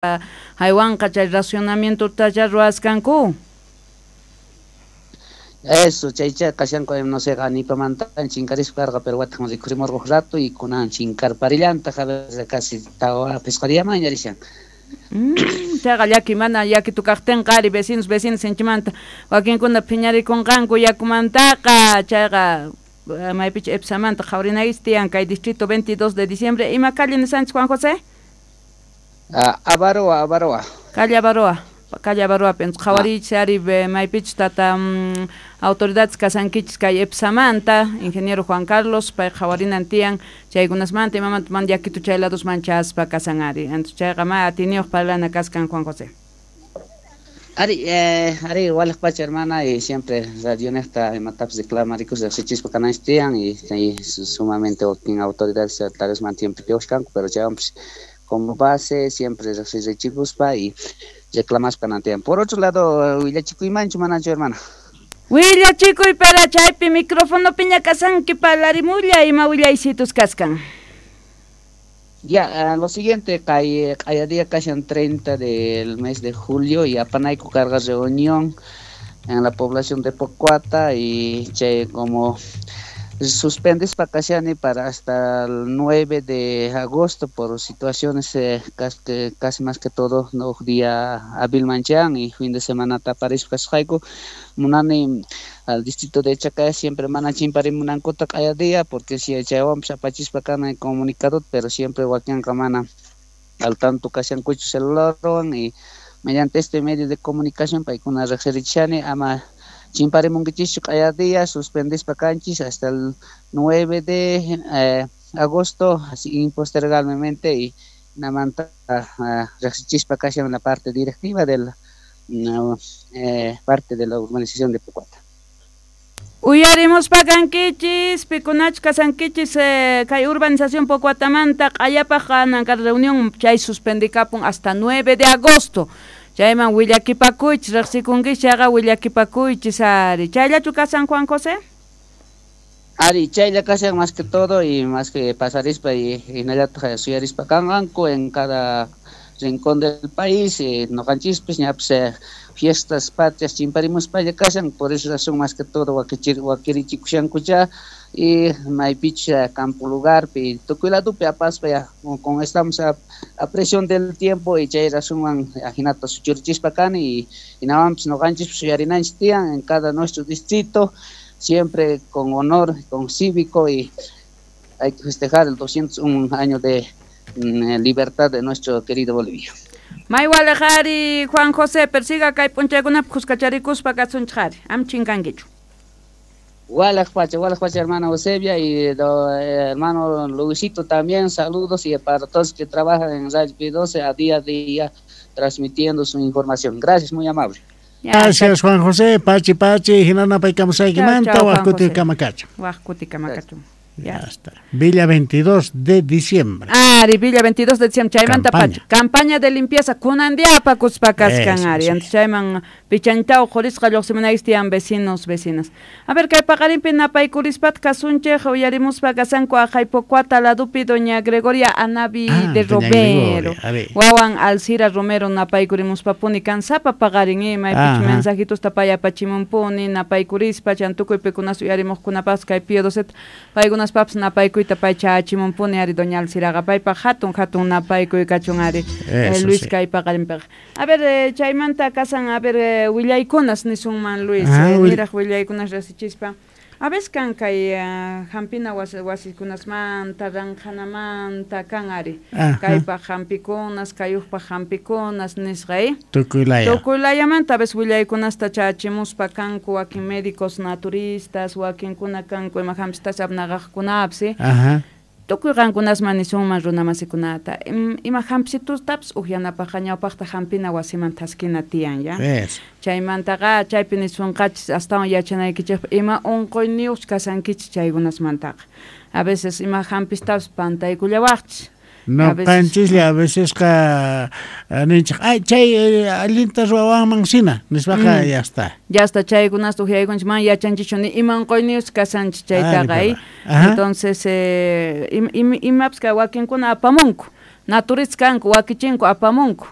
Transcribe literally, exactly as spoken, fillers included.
Haywanqa chay racionamientota ruwaskanku. Eso, chaycha kashanku, no sé, anipamanta chinkarispa karqa, pero watan rikhurimurqu rato y kunan chinkarparillantaq, a ver, casi tawa pisqariyaman ñarishan. Mm, chayqa llaki mana llaki tukaqtinqa ari vecinos vecinos sinchimanta wakinkuna phiñarikunqanku yakumantaqa chayqa maypicha EPSAmanta qhawarinaykichis tiyan kay distrito veintidós de diciembre. Ima calle nisanchis, Juan José? Ah, Avaroa, Avaroa. Calle Avaroa. Calle Avaroa, entonces qhawariychis ari maypichus tata mm, autoridades kasankichis kay EPSAmanta, ingeniero Juan Carlos, pay qhawarinan tiyan chaykunasmanta imamanta man yakitu chay ladosman chaspa kasan ari. Entonces chayqa ma atiniyuq parlana kaskan, Juan José. Ari, eh, ari, walaj pacha, hermana, y siempre Radio Nesta imatapis reclamarikus riqsichispa kananchis tiyan y, y sumamente wakin autoridades tal vez mantienen piwashkanku, pero chaywanpis como base siempre riqsirichikuspa y reclamaspa kanan. Por otro lado, willachikuymanchu manachu, hermana? Willachikuy, pero chaypi micrófono piña kasanki parlarimulla ima willaysitus kaskan. Ya, uh, lo siguiente, kay kaya día kashan treinta del mes de julio y apanayku carga reunión en la población de Pocoata y che como suspendes pakashani para hasta el nueve de agosto por situaciones eh, casi, casi más que todo no día hábil manchan y fin de semana taparis kasqayku munani al distrito de Chacaya siempre mana chimpari munankuta kaya día porque si chaywanpis apachispa kana comunicado pero siempre wakinqa mana al tanto kashankuchu celularwan y mediante este medio de comunicación paykuna riqsirichani ama chimparimunkichischu kaya día suspendispa kanchis hasta el nueve de eh, agosto así impostergablemente y namanta uh, riqsichispa kashan la parte directiva de la no, eh, parte de la urbanización de Pocoata. Uyarimuspa kankichis, pikunach kasankichis eh, kay urbanización Pocoatamanta q'ayapaq kananka reunión chay suspendikapun hasta nueve de agosto. Chayman willakipakuychis, riqsikunkichis chayqa willakipakuychis ari. Chayllachu kasan, Juan José? Ari, chaylla kasan más que todo y más que pasarispa y hinallataq suyarispa kanqanku en cada rincón del país, eh, noqanchispis ñapis eh, fiestas patrias chimparimuspalla kashan, por esa razón más que todo wakichir wakirichikushankucha y maypicha campo lugarpi tukuy ladupi apaspa ya con estamos a, a presión del tiempo y chay razonwan ajinata suchurichispa kani y hinawanpis noqanchis suyarinanchis tiyan en cada nuestro distrito siempre con honor, con cívico y hay que festejar el doscientos uno año de libertad de nuestro querido Bolivia. Maywalejari Juan José, persiga kay p'unchaykunapi khuskacharikuspa kasunchik am chinkankichu. Walaj pacha, walaj pacha, hermano Eusebia y do, eh, hermano Luisito también, saludos y para todos que trabajan en Radio P doce a día a día transmitiendo su información. Gracias, muy amable. Gracias, Juan José, pachi pachi, hinana paykamusaykimanta, waqkuti kamakachu. Waqkuti kamakachu. Ya está. Villa veintidós de diciembre. Ari, Villa veintidós de diciembre. Chaymanta pacha. Campaña de limpieza. Kunandiapa kuspa kaskan, ari. Antes chayman pichanchao jorisqa lluqsimunaykichis tiyan vecinos, vecinas. A ver, kay paqarinpi napaykurispat kasunchej uyarimuspa kasanku aqhay Pocoata ladupi doña Gregoria Anavi ah, de Romero. Wawan Alcira Romero napaykurimuspapuni kansapa paqarin maypich mensajitos tapayapachimunpuni napaykurispa chantukuy pikunas uyarimuqkunapas kay Pío Docet paykunas paps napaykuyta paychachimunpuni ari doña Alciraqa paypaq hatun hatun napaykuy kachun ari eh, Luis sí. Kay paqarinpiqa. A ver, eh, chaymanta kasan a ver eh, willaykunas nisunman Luis, ah, eh, niraq willaykunas rasichispa. A veces kan kay uh, hampina wasikunasmanta, ranqhanamanta kan ari. Kaypaq hampikunas, kayuqpaq hampikunas nisqa, eh? Tukuylaya. Tukuylayamanta a veces willaykunasta chachimuspa kanku wakin médicos naturistas, wakinkuna kanku ima hampistas apnaqaqkunapis, eh? Ajá. Tukuy qankunasman nisunman runamasikunata. Ima hampisitustapis uqyanapaqqa ñawpaqta hampina wasiman thaskina tiyan, ya? Yes. Chaymantaqa chaypi nisunqachis astawan yachanaykichikpaq ima unquyniyuq kasankichis chaykunasmantaqa. A veces ima hampistapis pantaykullawaqchis. No, qanchislla a veces qa ninchik ay chay allinta ruwawanman sina nispaqa ya está. Ya está chaykunasta uqyaykunchik man yachanchischu ni ima unquyniyuq kasanchis chaytaqa, eh? Entonces eh, im, im, imapis kay wakinkuna apamunku, naturistas kanku wakichinku apamunku.